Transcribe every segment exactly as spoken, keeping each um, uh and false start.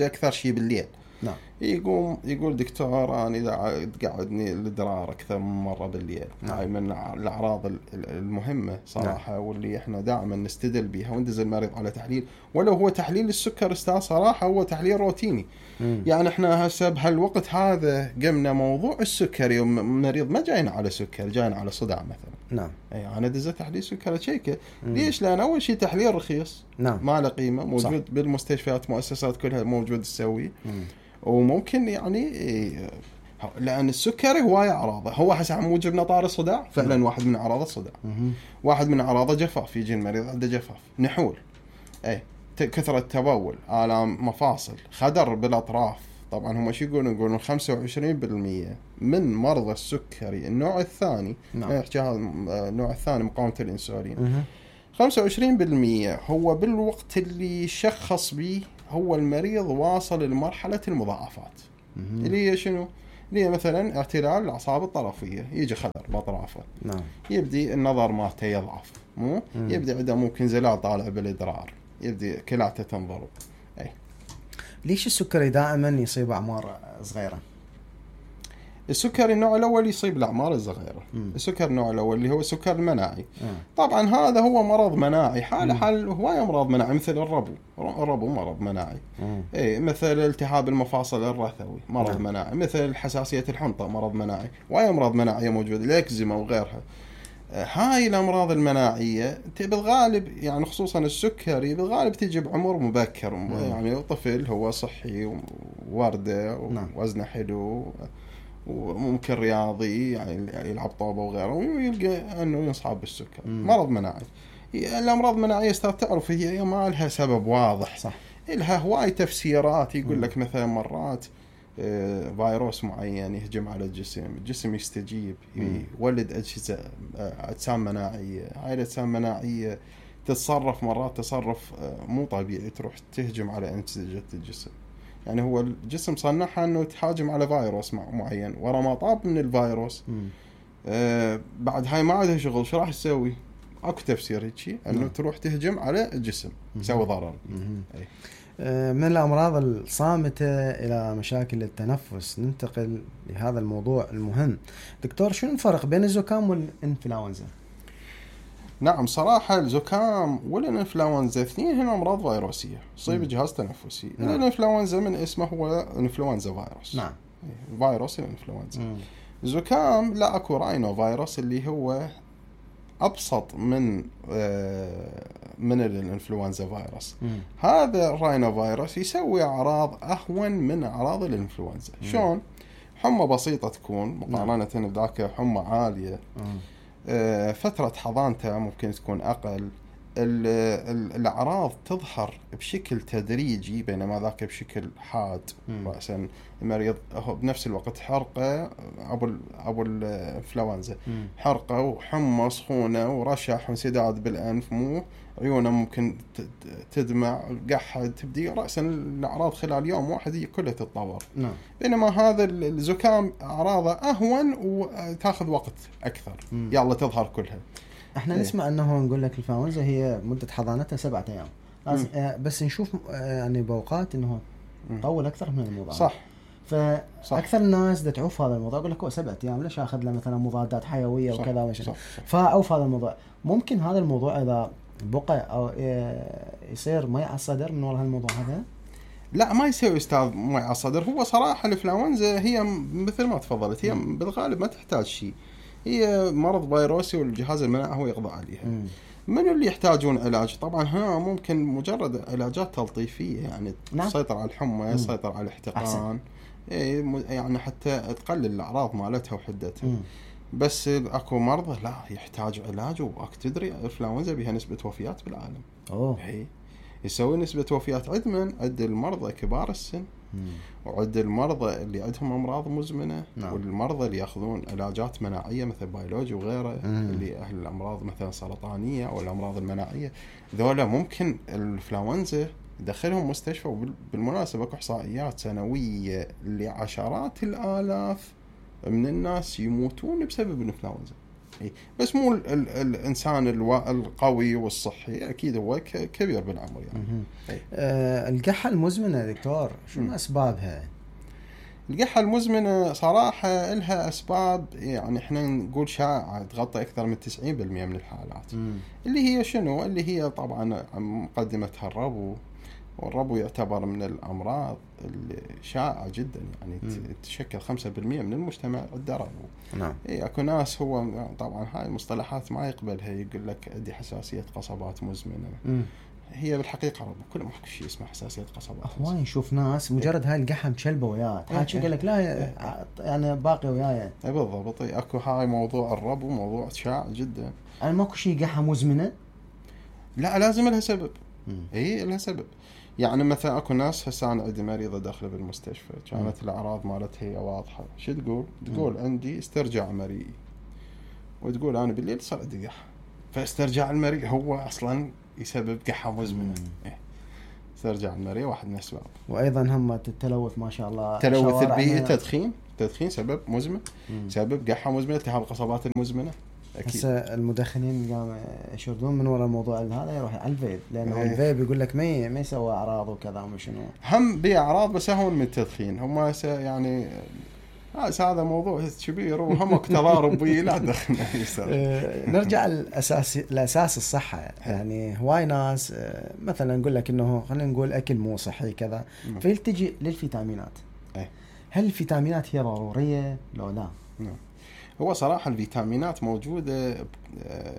اكثر شيء بالليل. نعم. يقوم يقول دكتور انا اذا تقعدني الادرار اكثر من مره بالليل. نعم. هاي من الاعراض المهمه صراحه. نعم. واللي احنا دائما نستدل بها وندز المريض على تحليل، ولو هو تحليل السكر استاذ صراحه هو تحليل روتيني. مم. يعني احنا هسه بهالوقت هذا قمنا موضوع السكري، ومريض ما جاينا على سكر، جاينا على صداع مثلا. نعم. اي انا دز تحليل سكر تشيكه. ليش؟ لان اول شيء تحليل رخيص. نعم. ما له قيمه، موجود صح. بالمستشفيات مؤسسات كلها موجود تسوي. وممكن يعني لأن السكري هواية أعراضه. هو حسب موجب نطار الصداع فعلا. مم. واحد من أعراض الصداع. مم. واحد من أعراضه جفاف. يجي المريض عنده جفاف، نحول، أي كثرة تبول، آلام مفاصل، خدر بالأطراف. طبعا هم شو يقولون؟ يقولون خمسة وعشرين بالمئة من مرضى السكري النوع الثاني، نعم. يحكي هذا النوع الثاني مقاومة الإنسولين. مم. خمسة وعشرين بالمئة هو بالوقت اللي شخص به هو المريض واصل لمرحلة المضاعفات. مم. اللي هي شنو؟ اللي هي مثلا اعتلال الأعصاب الطرفية، يجي خدر بأطرافه. نعم. يبدي النظر مالته يضعف، مو؟ مم. يبدي عنده ممكن زلال طالع بالإدرار، يبدي كلاته تنضرب. أي. ليش السكري دائما يصيب أعمار صغيرة؟ السكر النوع الأول يصيب الأعمار الصغيرة. السكر النوع الأول اللي هو السكر المناعي. مم. طبعا هذا هو مرض مناعي، حال حال هواية أمراض مناعي مثل الربو. الربو مرض مناعي. إيه، مثل التهاب المفاصل الرثوي مرض مم. مناعي، مثل حساسية الحنطة مرض مناعي، وهي أمراض مناعية موجودة، الإكزيما وغيرها. هاي الأمراض المناعية بالغالب يعني خصوصا السكري بالغالب تجي بعمر مبكر. مم. يعني طفل هو صحي ووردة ووزنه حلو وممكن رياضي يعني يلعب طوبة وغيره، ويلقى أنه ينصاب بالسكر. مم. مرض مناعي. الأمراض المناعية استاذ تعرف هي ما لها سبب واضح. صح. لها هواي تفسيرات. يقول لك مثلا مرات فيروس معين يهجم على الجسم، الجسم يستجيب، يولد أجهزة أجسام مناعية. هاي الأجسام المناعية تتصرف مرات تصرف مو طبيعي، تروح تهجم على أنسجة الجسم. يعني هو الجسم صنعها أنه تهاجم على فيروس معين، ورا ما طاب من الفيروس آه بعد هاي ما عندها شغل، شو راح تسوي؟ أكو تفسير هيك أنه مم. تروح تهجم على الجسم تسوي ضرر. أي. آه من الأمراض الصامتة إلى مشاكل التنفس ننتقل لهذا الموضوع المهم. دكتور، شو الفرق بين الزكام والإنفلونزا؟ نعم صراحة الزكام والإنفلونزا اثنين هنا أمراض فيروسية تصيب الجهاز التنفسي. نعم. الإنفلونزا من اسمه هو إنفلونزا فيروس. نعم. فيروس الإنفلونزا. الزكام لا أكو راينو فيروس اللي هو أبسط من من الإنفلونزا فيروس. مم. هذا الراينو فيروس يسوي أعراض أهون من أعراض الإنفلونزا. شلون؟ حمى بسيطة تكون مقارنة بذاك حمى عالية. مم. فترة حضانته ممكن تكون أقل. الأعراض تظهر بشكل تدريجي بينما ذاك بشكل حاد. رأسا المريض بنفس الوقت حرقة أبو أبو الإنفلونزا، حرقة وحمى سخونة ورشح وانسداد بالأنف، مو عيونه ممكن تدمع، قحط، تبدي رأسا الأعراض خلال يوم واحد هي كلها تتطور. نعم. بينما هذا الزكام أعراضه أهون وتأخذ وقت أكثر. مم. يلا تظهر كلها. احنا ايه. نسمع انه نقول لك الإنفلونزا هي مدة حضانتها سبعة ايام، بس نشوف يعني بوقات انه طول اكثر من الموضوع. صح. فاكثر الناس دا تعوف هذا الموضوع، يقول لك هو سبعة ايام ليش اخذ له مثلا مضادات حيويه وكذا وش، فاوف هذا الموضوع. ممكن هذا الموضوع اذا بقى او يصير مي على الصدر من وراء هالموضوع هذا؟ لا ما يسوي استاذ مي على الصدر. هو صراحه الإنفلونزا هي مثل ما تفضلت، هي م. بالغالب ما تحتاج شيء، هي مرض فيروسي والجهاز المناعي هو يقضي عليها. مم. من اللي يحتاجون علاج؟ طبعا هنا ممكن مجرد علاجات تلطيفية يعني نعم. تسيطر على الحمى، تسيطر على الاحتقان، يعني حتى تقلل الأعراض مالتها وحدتها. مم. بس اكو مرضى لا يحتاج علاج، واك تدري الإنفلونزا بها نسبة وفيات بالعالم. أوه. هي يسوي نسبة وفيات عد من عد المرضى كبار السن. مم. وعد المرضى اللي عندهم أمراض مزمنة. نعم. والمرضى اللي يأخذون علاجات مناعية مثل بيولوجي وغيره. مم. اللي أهل الأمراض مثلا سرطانية أو الأمراض المناعية، ذولا ممكن الإنفلونزا يدخلهم مستشفى. وبالمناسبة إحصائيات سنوية لعشرات الآلاف من الناس يموتون بسبب الإنفلونزا. إيه. بس مو ال ال الانسان الوا القوي والصحي اكيد هو كبير بالعمر يعني. إيه. آه القحه المزمنه دكتور شنو اسبابها؟ القحة المزمنة صراحة لها أسباب يعني إحنا نقول شائعة تغطي أكثر من تسعين بالمئة من الحالات. مم. اللي هي شنو؟ اللي هي طبعا مقدمتها الربو، والربو يعتبر من الأمراض الشائعة جدا يعني. مم. تشكل خمسة بالمئة من المجتمع عنده ربو. نعم. إيه أكو ناس هو طبعا هاي المصطلحات ما يقبلها، يقول لك عندي حساسية قصبات مزمنة. مم. هي بالحقيقة ربو كل ما شيء اسمه حساسية قصبات. هواي نشوف ناس مجرد هاي القحة مشلبة وياه حاجة قال لك لا يعني باقي وياي. بالضبط. اكو هاي موضوع الربو موضوع شائع جدا. أنا ماكو شيء قحة مزمنة؟ لا لازم لها سبب. اي لها سبب. يعني مثلا اكو ناس هسه انا عندي مريضة داخله بالمستشفى كانت مم. الاعراض مالتها هي واضحة. شو تقول؟ تقول مم. عندي استرجاع مريء، وتقول انا بالليل صار عندي قحة. فاسترجاع المريء هو اصلا يسبب قحة مزمنة. إيه. استرجاع المريء واحد من الأسباب. وأيضا هم التلوث ما شاء الله. تلوث البيئي، التدخين، التدخين سبب مزمن. مم. سبب قحة مزمنة، التهاب القصبات المزمنة. هسه المدخنين قام يشردون من وراء الموضوع هذا يروح على الفيب، لأنه ايه. الفيب يقول لك ما ما يسوي أعراض وكذا ومشنو. هم بأعراض بس هون من التدخين هم يعني. هذا موضوع كبير وهم تضارب بيه لا دخل. نرجع للأساس الأساس الصحة يعني. هواي ناس مثلا نقول لك إنه خلينا نقول أكل مو صحي كذا فيلتجي للفيتامينات. هل الفيتامينات هي ضرورية لو لا؟ هو صراحة الفيتامينات موجودة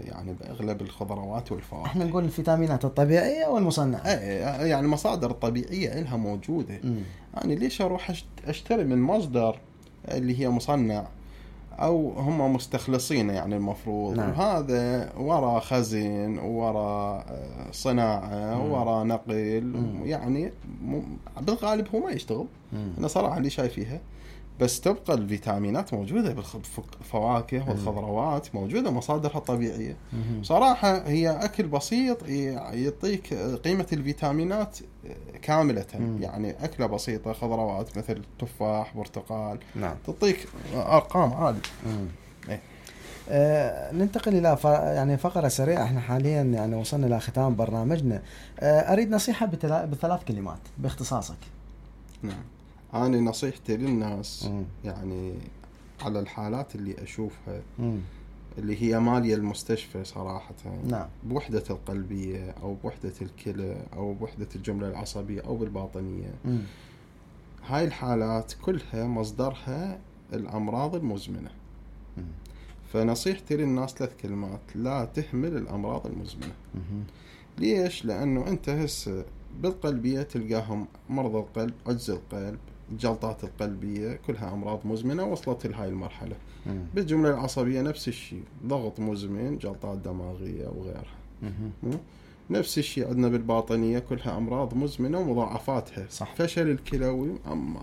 يعني بأغلب الخضروات والفواكه. احنا نقول الفيتامينات الطبيعية والمصنعة. يعني المصادر الطبيعية إلها موجودة. م. يعني ليش أروح أشتري من مصدر اللي هي مصنع أو هم مستخلصين يعني المفروض. نعم. وهذا وراء خزن وراء صناعة وراء نقل. م. يعني بالغالب هو ما يشتغل. م. أنا صراحة اللي شايفيها. بس تبقى الفيتامينات موجودة بالفواكه والخضروات موجودة مصادرها الطبيعية. صراحة هي أكل بسيط يعطيك قيمة الفيتامينات كاملة. يعني أكلة بسيطة خضروات مثل تفاح برتقال. نعم. تعطيك أرقام عالية. إيه. آه ننتقل إلى ف... يعني فقرة سريعة. احنا حاليا يعني وصلنا إلى ختام برنامجنا. آه أريد نصيحة بتلا... بثلاث كلمات باختصاصك. نعم. أنا نصيحتي للناس مم. يعني على الحالات اللي أشوفها مم. اللي هي مالية المستشفى صراحة. نعم. بوحدة القلبية أو بوحدة الكلى أو بوحدة الجملة العصبية أو بالباطنية. مم. هاي الحالات كلها مصدرها الأمراض المزمنة. مم. فنصيحتي للناس ثلاث كلمات: لا تهمل الأمراض المزمنة. مم. ليش؟ لأنه أنت هسه بالقلبية تلقاهم مرضى القلب، عجز القلب، الجلطات القلبية، كلها أمراض مزمنة وصلت لهاي المرحلة. مم. بالجملة العصبية نفس الشيء، ضغط مزمن، جلطات دماغية وغيرها. مم. نفس الشيء عندنا بالباطنية كلها أمراض مزمنة ومضاعفاتها. صح. فشل الكلوي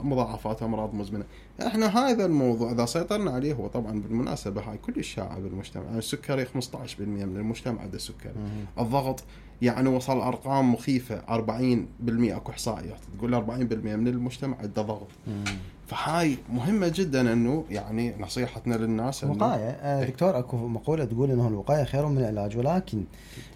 مضاعفات أمراض مزمنة. احنا هذا الموضوع إذا سيطرنا عليه، هو طبعا بالمناسبة هاي كل الشائع بالمجتمع. يعني السكري خمسة عشر بالمئة من المجتمع عنده سكري. الضغط يعني وصل أرقام مخيفة، أربعين بالمئة أكو إحصائيات تقول أربعين بالمئة من المجتمع عنده ضغط. مم. فهاي مهمة جدا إنه يعني نصيحتنا للناس إنه وقاية. آه دكتور أكو مقولة تقول إنه الوقاية خير من العلاج، ولكن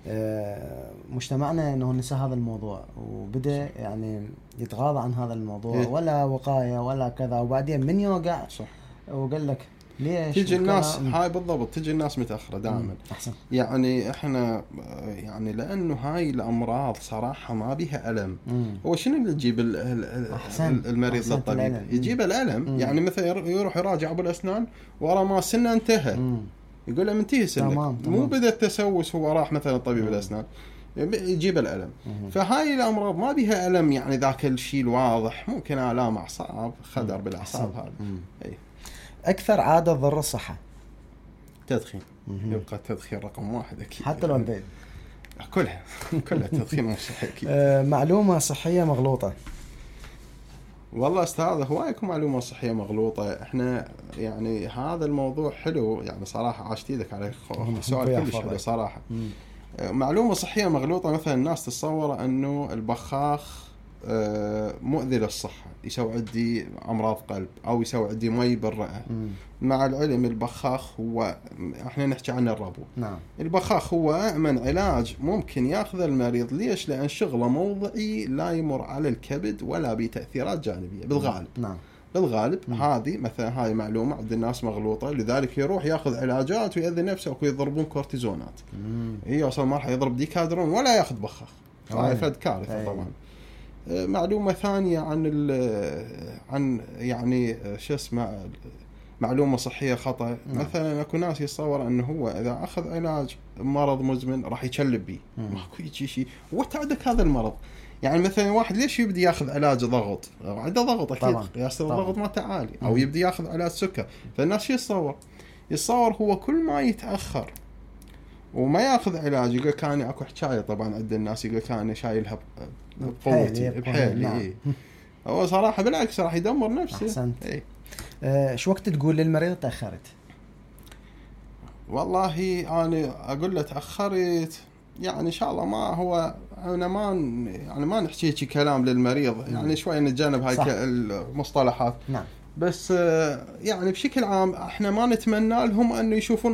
آه مجتمعنا إنه نسى هذا الموضوع وبدأ يعني يتغاضى عن هذا الموضوع. إيه؟ ولا وقاية ولا كذا، وبعدين من يوقع صح وقال لك ليش تيجي الناس هاي بالضبط تيجي الناس متأخرة دائما. أحسن. يعني احنا يعني لأنه هاي الأمراض صراحة ما بيها ألم. مم. هو شنو اللي يجيب المريض للطبيب؟ يجيب الألم. مم. يعني مثلا يروح يراجع أبو الأسنان ورا ما سنة انتهى. مم. يقول له منتهي سنك. تمام. مو بدأ التسوس هو راح مثلا طبيب الأسنان يجيب الألم. مم. فهاي الأمراض ما بيها ألم يعني ذاك الشيء الواضح. ممكن آلام أعصاب، خدر بالأعصاب. هذا أي. أكثر عادة تضر الصحة؟ تدخين. يبقى التدخين رقم واحد أكيد. حتى لو البيت كلها كلها تدخين مو صحي أكيد. آه معلومة صحية مغلوطة. والله أستاذ هوايك معلومة صحية مغلوطة. إحنا يعني هذا الموضوع حلو يعني صراحة. عاشت ايدك على سؤال كلش حلو صراحة. مم. معلومة صحية مغلوطة مثلا الناس تتصور أنه البخاخ مؤذي للصحة، يسوي عندي أمراض قلب أو يسوي عندي مي بالرئة. مم. مع العلم البخاخ هو احنا نحكي عنه الربو. نعم. البخاخ هو أأمن علاج ممكن ياخذ المريض. ليش؟ لأن شغله موضعي، لا يمر على الكبد ولا بتأثيرات جانبية بالغالب. نعم. بالغالب. مم. هذه مثلا هاي معلومة عند الناس مغلوطة، لذلك يروح ياخذ علاجات ويأذي نفسه ويضربون كورتيزونات. هي يوصل مرحلة يضرب ديكادرون ولا ياخذ بخاخ. هاي فد كارثة. أي. طبعا. معلومة ثانية عن عن يعني شو اسمه معلومة صحية خطأ. نعم. مثلا اكو ناس يتصور انه هو اذا اخذ علاج مرض مزمن راح يتشلب بيه. ماكو شيء. وتعدك هذا المرض. يعني مثلا واحد ليش يبدي ياخذ علاج ضغط؟ عنده ضغط اكيد، قياس الضغط مالته عالي، او يبدي ياخذ علاج سكر. فالناس شو يتصور؟ يتصور هو كل ما يتاخر وما ياخذ علاج يقول كان اكو حكايه. طبعا عند الناس يقول كان شايلها بقوتي بحيلي. نعم. إيه. هو صراحه بالعكس راح يدمر نفسه. احسنت. إيه. أه شو وقت تقول للمريض تاخرت؟ والله انا اقول له تاخرت يعني ان شاء الله ما هو انا ما يعني ما نحكي شيء كلام للمريض. نعم. يعني شوي نتجنب هاي المصطلحات. نعم. بس يعني بشكل عام احنا ما نتمنى لهم انه يشوفون